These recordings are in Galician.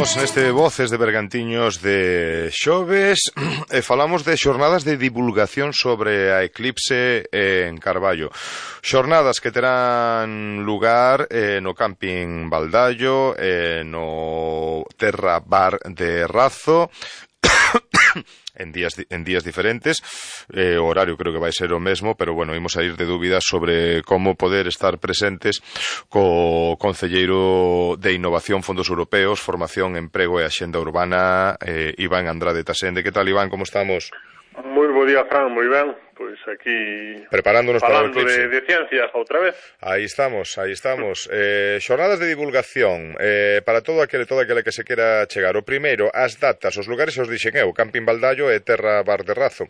Estamos neste Voces de Bergantiños de xoves e falamos de xornadas de divulgación sobre a eclipse en Carballo. Xornadas que terán lugar no Camping Baldallo, no Terra Bar de Razo, en días diferentes. O horario creo que vai ser o mesmo, pero bueno, imos a ir de dúbidas sobre como poder estar presentes co Concelleiro de Innovación, Fondos Europeos, Formación, Emprego e Axenda Urbana, Iván Andrade Tasende. Que tal, Iván, como estamos? Moi bo día, Fran, moi ben. Pois aquí preparándonos para o eclipse. de ciencias outra vez. Aí estamos. Xornadas de divulgación para todo aquele que se quera chegar. O primeiro, as datas, os lugares os dixen eu, Camping Baldallo e Terra Bar de Razo.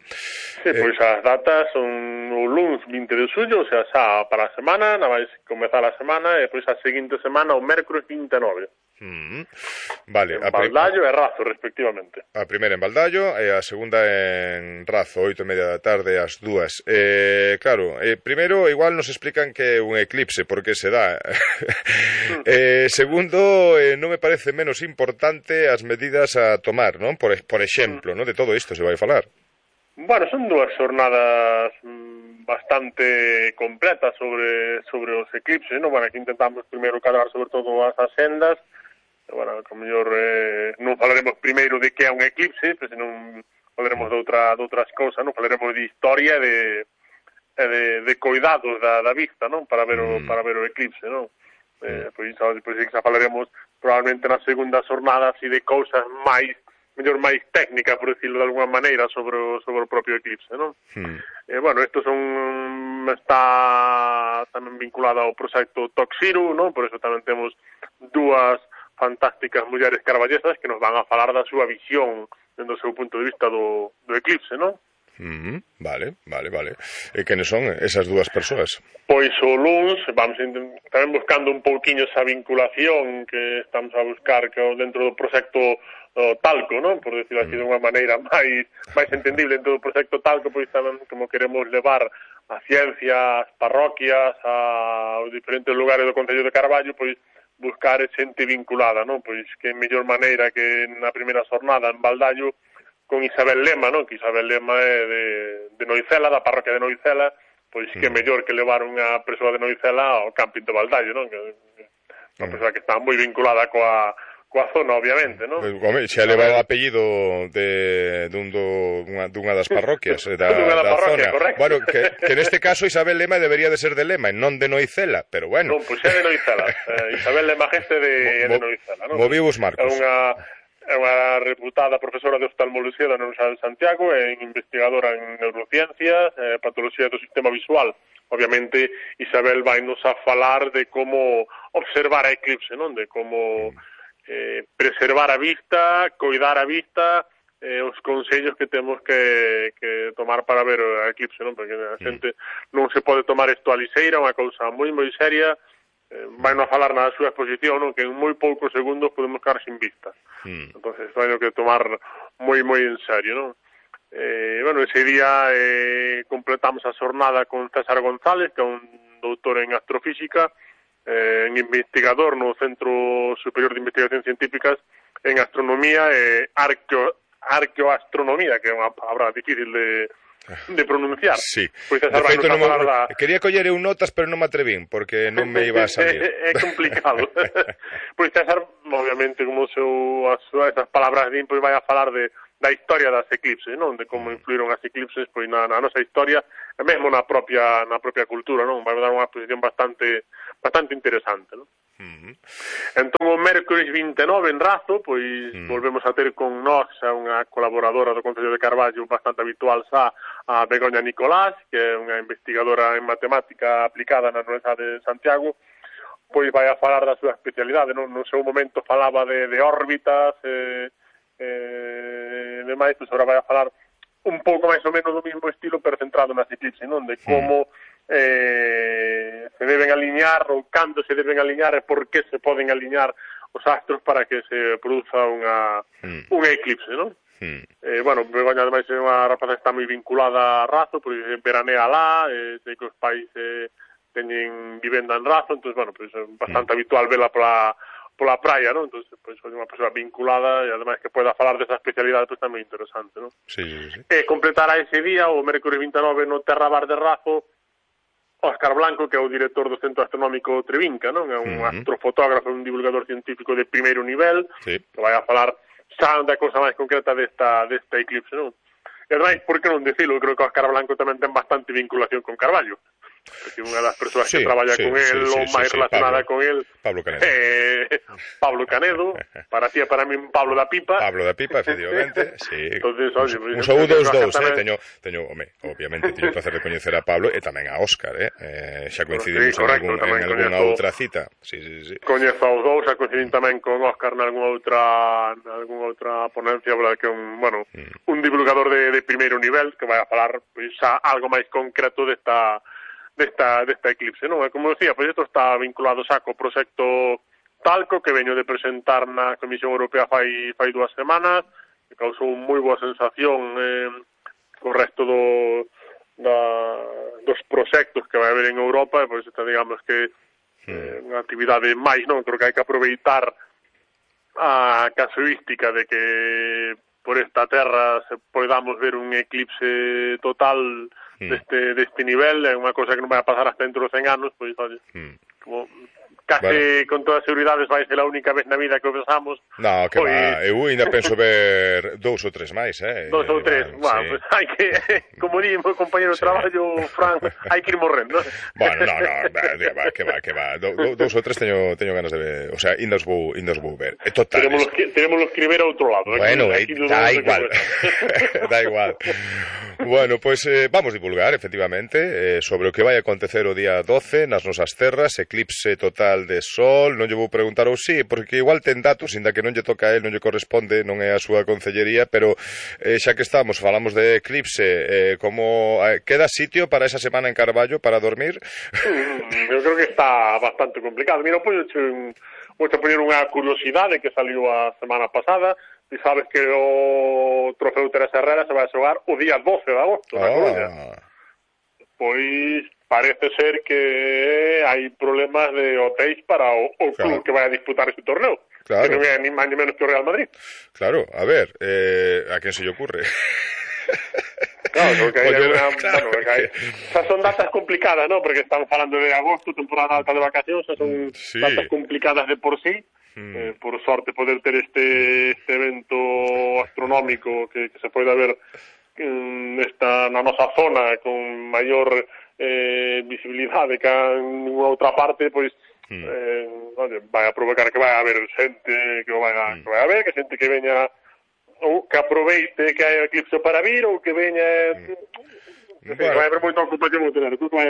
Sí, pois as datas son o luns 20 de xullo, o sea, xa para a semana, na vais comezar a semana, e pois a seguinte semana, o mércores 29. Vale, en Baldallo e Razo, respectivamente. A primeira en Baldallo e a segunda en Razo, 8:30 da tarde ás 2. Claro, primeiro igual nos explican que é un eclipse, porque se dá. Segundo, non me parece menos importante as medidas a tomar, non? Por exemplo, non? De todo isto se vai falar. Bueno, son dúas xornadas bastante completas sobre os eclipses, non? Bueno, aquí intentamos primeiro cadrar sobre todo as asendas. Bueno, como mellor non falaremos primeiro de que é un eclipse, pero senón falaremos de outras cousas, non? Falaremos de historia e de cuidados da vista, non? Para ver o eclipse, non? Pois xa falaremos probablemente na segunda xornada así de cousas máis técnicas, por decirlo de alguma maneira, sobre o propio eclipse, non? Bueno, isto está tamén vinculado ao proxecto Toxiru, non? Por eso tamén temos dúas fantásticas mulleres carballesas que nos van a falar da súa visión dentro do seu punto de vista do eclipse, non? Vale. E quenes son esas dúas persoas? Pois o luns vamos tamén buscando un pouquiño esa vinculación que estamos a buscar dentro do proxecto Talco, non? Por decirlo así de unha maneira máis entendible dentro do proxecto Talco, pois tamén como queremos levar a ciencia, as parroquias, aos diferentes lugares do Concello de Carballo, pois buscar xente vinculada, non? Pois que mellor maneira que na primeira xornada en Baldallo con Isabel Lema, non? Que Isabel Lema é de Noicela, da parroquia de Noicela, pois que mellor que levar unha persoa de Noicela ao camping de Baldallo, non? Que unha persoa que está moi vinculada coa zona, obviamente, non? Home, xa leva o apellido dunha das parroquias da parroquia, zona. Correcto. Bueno, que neste caso Isabel Lema debería de ser de Lema e non de Noicela, pero bueno. Non, pois é de Noicela. Isabel Lema Geste de Noicela, non? Moviu os marcos. É unha reputada profesora de oftalmoloxía da Universidade de Santiago e investigadora en neurociencias, patoloxía do sistema visual. Obviamente, Isabel vai nos a falar de como observar a eclipse, non? De como preservar a vista, coidar a vista, os consellos que temos que tomar para ver a eclipse, non? Porque a xente non se pode tomar isto a lixeira, unha cousa moi seria. Vai non falar na súa exposición, non? Que en moi poucos segundos podemos quedar sin vista. Entonces, vai que tomar moi en serio, non? Bueno, ese día completamos a xornada con César González, que é un doutor en astrofísica, en investigador no Centro Superior de Investigacións Científicas en Astronomía e Arqueoastronomía, que é unha palabra difícil de pronunciar. Sí. Pois de feito, quería coller eu notas, pero non me atrevín, porque non me iba a salir. É complicado. Pois César, obviamente, como esas palabras din, pois vai a falar da historia das eclipses, non? De como influíron as eclipses pois na nosa historia, e mesmo na propia cultura, non? Vai dar unha exposición bastante interesante, non? Entón, o mércores 29 en Razo, pois volvemos a ter con nós a unha colaboradora do Concello de Carballo bastante habitual xa, a Begoña Nicolás, que é unha investigadora en matemática aplicada na Universidade de Santiago, pois vai a falar da súa especialidade, non? No seu momento falaba de órbitas e demais, pois agora vai a falar un pouco máis ou menos do mesmo estilo, pero centrado nas eclipses, non? De como se deben aliñar ou cando se deben aliñar e por que se poden aliñar os astros para que se produza un eclipse, non? Bueno, Begoña ademais é unha rapaza que está moi vinculada a Razo, porque veranea lá, sei que os pais teñen vivenda en Razo, entón, bueno, pues é bastante habitual vela pola praia, non? Entón, pois, unha persoa vinculada e ademais que poida falar desa especialidade, pois tamén interesante, non? Sí, sí, sí. E completará ese día, o mércores 29 no Terra Bar de Razo, Óscar Blanco, que é o director do Centro Astronómico Trevinca, non? É un astrofotógrafo, un divulgador científico de primeiro nivel, que vai a falar xa da cousa máis concreta desta eclipse, non? E ademais, por que non dicilo? Eu creo que Óscar Blanco tamén ten bastante vinculación con Carballo, porque unha das persoas que traballa con el ou máis relacionada con el Pablo Canedo. Pablo Canedo, para ti e para min Pablo da Pipa, efectivamente, sí. Entonces, un saúdo aos dous, teño, obviamente teño o placer de coñecer a Pablo e tamén a Óscar, xa coincidimos en algunha outra cita. Sí. Coñezo aos dous, xa coincidín tamén con Óscar nalgúna outra ponencia, verdad, que un divulgador de primeiro nivel que vai a falar pois xa algo máis concreto desta eclipse, non? E como decía, pois isto está vinculado xa co proxecto Talco que veño de presentar na Comisión Europea fai 2 semanas, que causou moi boa sensación co resto dos proxectos que vai haber en Europa, e pois esta, digamos que unha actividade máis, non? Creo que hai que aproveitar a casuística de que por esta terra se podamos ver un eclipse total deste nivel, é unha cosa que non vai a pasar hasta dentro de 100 anos, pois, oye, como case con toda seguridade vai ser a única vez na vida que o pensamos. No, que va, eu ainda penso ver 2 ou 3 máis, 2 ou 3, bueno, pues hai que, como di meu compañero de traballo, Fran, hai que ir morrendo. Bueno, no, que va, 2 ou 3 teño ganas de ver, o sea, indas vou ver. Total. Teremos que escribir a outro lado. Bueno, da igual. Da igual. Bueno, pois vamos divulgar, efectivamente, sobre o que vai acontecer o día 12 nas nosas terras, eclipse total de sol. Non lle vou preguntar ou sí, porque igual ten datos, inda que non lle toca a él, non lle corresponde, non é a súa concellería, pero xa que estamos, falamos de eclipse, como queda sitio para esa semana en Carballo para dormir? Eu creo que está bastante complicado. Mira, vou poñer unha curiosidade que saliu a semana pasada. E sabes que o Trofeo Teresa Herrera se vai a xogar o día 12 de agosto na Coruña. Pois parece ser que hai problemas de hotéis para o club que vai a disputar ese torneo. Claro. Que non é ni máis ni menos que o Real Madrid. Claro, a ver, a quen se lle ocurre? Claro, porque hai xa son datas complicadas, ¿no? Porque estamos falando de agosto, temporada alta de vacacións, xa son datas complicadas de por sí. Por sorte poder ter este evento astronómico que se pode ver na nosa zona con maior visibilidade que en ninguna outra parte, pois vai a provocar que vai a haber xente que vai a ver, que xente que veña ou que aproveite que hai eclipse para vir ou que veña vai haber moita ocupación hotelera. Entón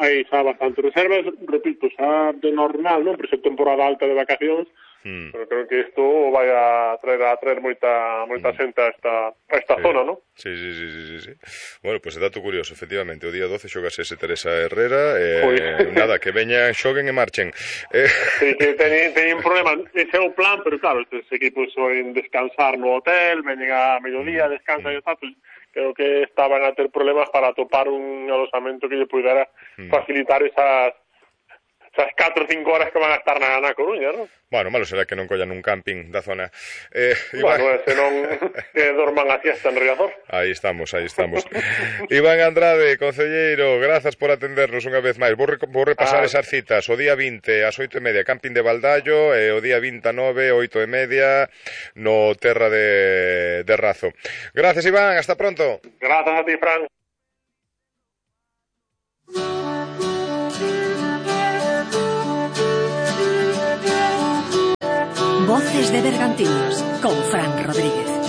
hai xa bastante reservas, repito, xa de normal, non? Por ser temporada alta de vacacións, pero creo que isto vai a traer moita xente a esta zona, non? Sí. Bueno, pois é dato curioso, efectivamente, o día 12 xogase ese Teresa Herrera, nada, que veñan, xoguen e marchen. Sí, que teñen problemas, ese é o plan, pero claro, estes equipos soen descansar no hotel, veñen a mediodía, descansan e tal, pues, creo que estaban a ter problemas para atopar un alosamento que lle pudera facilitar esas 4 ou 5 horas que van a estar na Coruña, non? Bueno, malo será que non collan un camping da zona. Bueno, se non que dorman a siesta en Riazor. Aí estamos. Iván Andrade, concelleiro, grazas por atendernos unha vez máis. Vou repasar esas citas. O día 20 ás 8:30, camping de Baldallo, e o día 29, 8:30, no Terra de Razo. Gracias, Iván, hasta pronto. Gracias a ti, Fran. Voces de Bergantiños, con Fran Rodríguez.